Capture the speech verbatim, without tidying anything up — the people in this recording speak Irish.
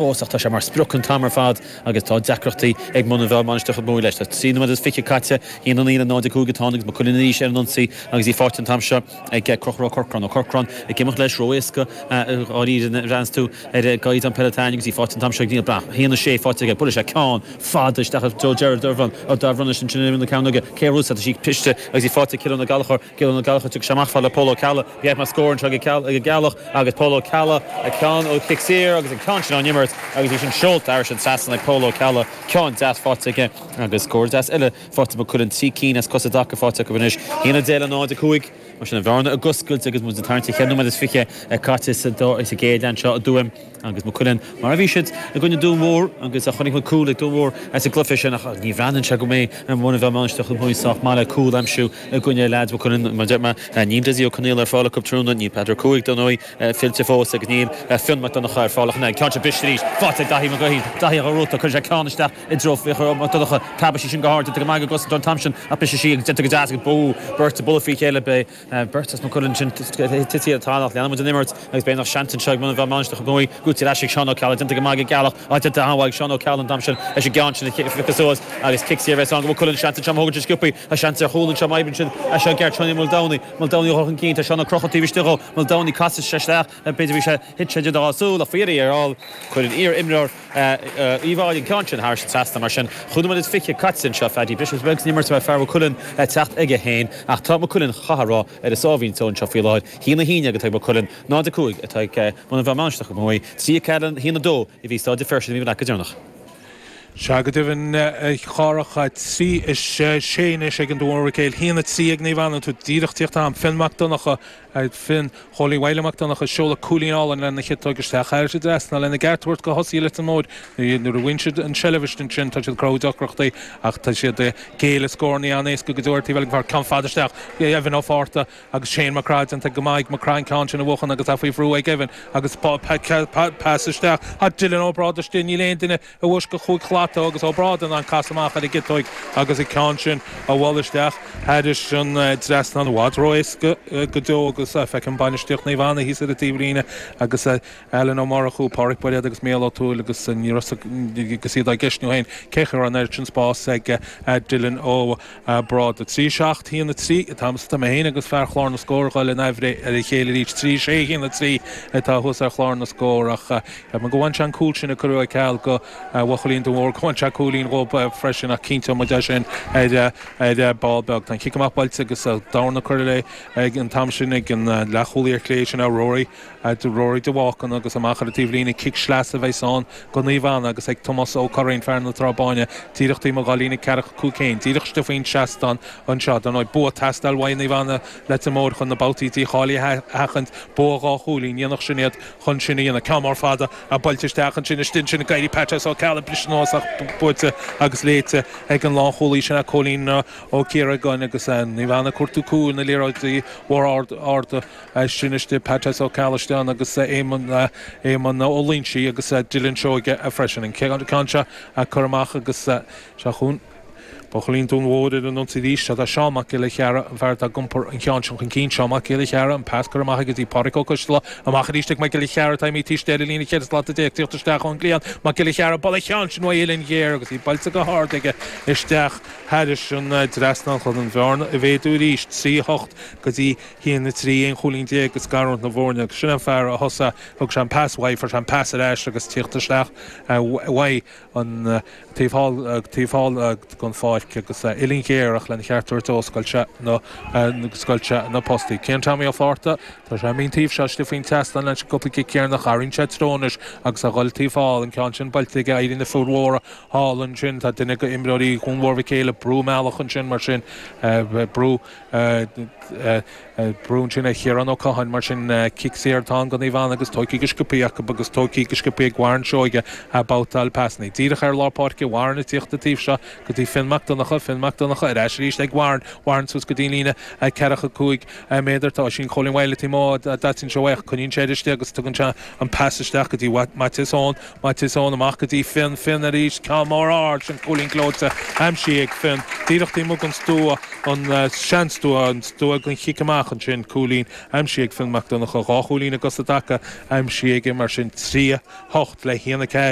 Fós ach tá sé mar sprioc an t-am ar fad agus tá deacrachtaí ag Muine Mheá Mainistir Mhuire leis. Tá trí nóiméad is fiche caite haon a naoi le náid a cúig atá agus Maigh Cuilinn arís ar an ionsaí agus í faighte an t-am seo ag Conchúr Ó Corcráin. Ó Corcráin ag imeacht leis ró-éasca dháiríre bhreathnaíonn tú ar an gcaighdeán peile atá agus í faighte an t-am seo ag Neil Breathnach. Haon a sé faighte aige buaileann sé ceann fada isteach i dtreo Gerard Dervan ó Dervan ansin in na ceann cé rúsa tá sí briste agus í faighte Cillian Ó Gallchóir Cillian Ó Gallchóir tug sé amach le Pól Ó Ceallaigh bhí mar scór anseo ag an gCeallach agus Pól Ó Ceallaigh a ceann ó chic saor agus an ceann sin á imirt agus í sin seolta thar an trasnán ag Pól Ó Ceallaigh ceann deas faighte aige agus scór deas eile faighte Maigh Cuilinn trí cinn as cosa dtaca faighte acu anois haon a deich le náid a cúig mar sin an bhearna ag oscailt agus muid ag tarraingt ceithre nóiméad is fiche caite sa gcéad leath seo a dúim agus Maigh Cuilinn mar a bhí siad i gcoinne Dún Mór agus a chonaic muid cúl ag Dún Mór as an gcluiche sin ach ní bhreathnaíonn sé go mbeidh an Muine Mheá Mainistir Mhuire sách maith le cúl a aimsiú i gcoinne leaids Maigh Cuilinn mar deir mé níl Dessie Ó Conaola ar fáil acu tráthnóna níl Peadar Cúig don ndóigh fillte fós agus níl Fionn Mac Donncha ar fáil ach an ceann seo briste arís faighte ag Daithí Mac Guithín Daithí a rúta chuir sé ceann isteach i dtreo Fhiachra Mac Donncha preabadh sí sin go hard déanta go maith go don t-am sin ach bise sí agus déanta go deas agus bú beirt ag bualadh faoi chéile beidh beirt as Maigh Cuilinn sin tite ar talamh leanfaidh muid an imirt agus beidh nach seans anseo ag Muine Mheá Mainistir Mhuire Gúti leis ag Seán Ó Ceallaigh déanta go maith go gealach á déanta an-mhaith ag Seán Ó Ceallaigh an t-am sin leis an gceann sin a phiocadh suas agus cic saor bheith an go Maigh Cuilinn seans anseo má thógann siad sciobthaí tá seans ar chúl anseo maith sin seo Gert Tony Muldowney Muldowney chun cinn tá Seán Ó Crocha taobh istigh dhó Muldowney casadh sé isteach b'fhéidir bhí sé thit sé dá súil ach faoi ar fháil chuir an iar-imreoir Uí Bháil an ceann sin thar an trasnán mar sin chúig nóiméad is fiche caite anseo Phaddy briseadh beag san imirt fear Mhaigh Cuilinn teacht aige féin ach tá Maigh Cuilinn chaithfear a rá ar a sáimhín só anseo faoi láthair haon a haon déag atá ag Maigh Cuilinn náid a cúig atá ag Muine Mheá Mainistir Mhuire trí a ceathair haon a dó a bhí Staid Feirste mí go deireanach. Se go deimhin chárach trí is sé anois ag an Dún Mhic Éil haon a trí ag Naomh Anna tú díreach tíocht am Finn Mac Donncha Finn Chóilín Bhaile Mac Donncha seoladh cúilín álainn lena chiotóg isteach thar an trasnán lena gceart tabhairt go thosaí Leitir Móir nuair a bhain siad an seilbh sin tá siad cró deacrachtaí ach tá siad géile scóranna an-éasca go deo taobh eile fear ceann fada isteach Evan Ó Fátharta agus Shane McCraith déanta go maith McCraith ceann sin a bhuachan agus tá faoi bhrú ag Evan agus pas isteach tá Dylan Ó Bráda istigh níl aon duine a bhfuis go chúig shlata agus Ó Bráda an cas amach ar a gciotóig agus an ceann sin a bhualadh isteach thar an trasnán i bhfad ró-éasca go deo agus feicim bainistíocht Naomh Anna thíos ar an taobhlíne agus Alan Ó Murchú Pádraig Bairéad agus Mícheál Ó Tuathail agus ní agus iad á gceistniú féin cé chu an sin spás ag Dylan Ó Bráda trí seacht haon a trí atá tá mé féin agus fear chlár na scór le naimhre ar a chéile arís trí sé haon a trí atá thuas ar chlár na scór ach go bhain sé an cúl sin a cuireadh ceal go bhuachaillí Dún Mór go bhain sé cúilín dhób freisin ach cinnte mu sin ar ar ball beag. Tá cic amach buailte agus darna cur le ag an t-am sin ag an leathchúlaí ar chlé sin Rory Rory de Bhácan agus amach ar an taobhlíne cic sleasa a bheidh ann go Naomh Anna agus ag Tomás Ó Curraoin fear na Trá Báine díreach mo ghalína ceathracha cúig céim díreach istigh faoin seastán anseo don bua teastáil uaidh Naomh Anna Leitir Móir chun na babhtaí dícháilithe a sheachaint bua dhá chúilín dhéanach sin iad chun sin a dhéanamh ceann mór fada a buailte isteach ansin istigh sin Gairy Pat Ó Ceallaigh briseadh ach buailte agus léite ag an lánchúlaí sin a Cóilín Ó Ciaragáin agus Naomh Anna cuartú cúil na liathróidí mhór ard arda sin istigh Pat Ó Ceallaigh agus Éamonn Éamonn Ó Loinsigh agus Dylan Seoige freisin an ceann seo a chur amach agus seo chun Buachaillí Dún Mhór ar an ionsaí arís tá Seán Mac Giolla Chearra an fear atá ag iompar an cheann sin chun cinn Seán Mac Giolla Chearra an pas cur amach agus í Pádraig Ó Coisteala amach arís ag Mac Giolla Chearra tá mí tíiste ar líne cheithre slata déag tíocht isteach ón gcliathán Mac Giolla Chearra bualadh cheann sin uaidh Uillinn Ghéar agus í buailte go hard aige isteach thar an trasnán chun an bhearna a mhéadú arís trí hocht go dtí haon a trí aon chúilín déag agus scarúint na bhfoirne agus sin an fear a thosaigh thug sé an pas uaidh fuair sé an pas ar ais agus tíocht isteach uaidh an taobh thall taobh thall den pháirc agus Uillinn Ghéar ach lena cheart tabhairt ó scoilt sé na scoilt sé na postaí. Cén Tommy Ó Fátharta Tá sé mín taobh seo istigh faoin tseastán leis an gcúpla cic céarnach arraon sé trónais agus a dhul taobh thall an ceann sin buailte aige éirí na fir mhóra thall ansin tá duine go imreoirí Dhún Mhór Mhic Éil brú meallach ansin mar sin brú brú ansin ar Chiarán Ó Catháin mar sin cic saor atá go Naomh Anna agus tógtha go sciobtha acu agus tógtha go sciobtha ag Warren Seoige a babhtáil pasanna. Díreach ar lár páirce Warren ag tíocht taobh seo go dtí Finn Mac Donncha Finn Mac Donncha ar ais arís ag Warren Warren suas go dtí an líne ceathracha cúig méadar tá Oisín Chóilín Wylie taobh amuigh d'Oisín seo ach coinníonn sé istigh agus tugann sé an pas isteach go dtí Maitias Eoin Maitias Eoin amach go dtí Finn Finn arís ceann mór ard sin cúilín gleoite aimsithe ag Finn díreach taobh amuigh den stua an seanstua an stua den chic amach ansin cúilín aimsithe ag Finn Mac Donncha dhá chúilín i gcosa dtaca aimsithe aige mar sin trí hocht le haon a ceathair.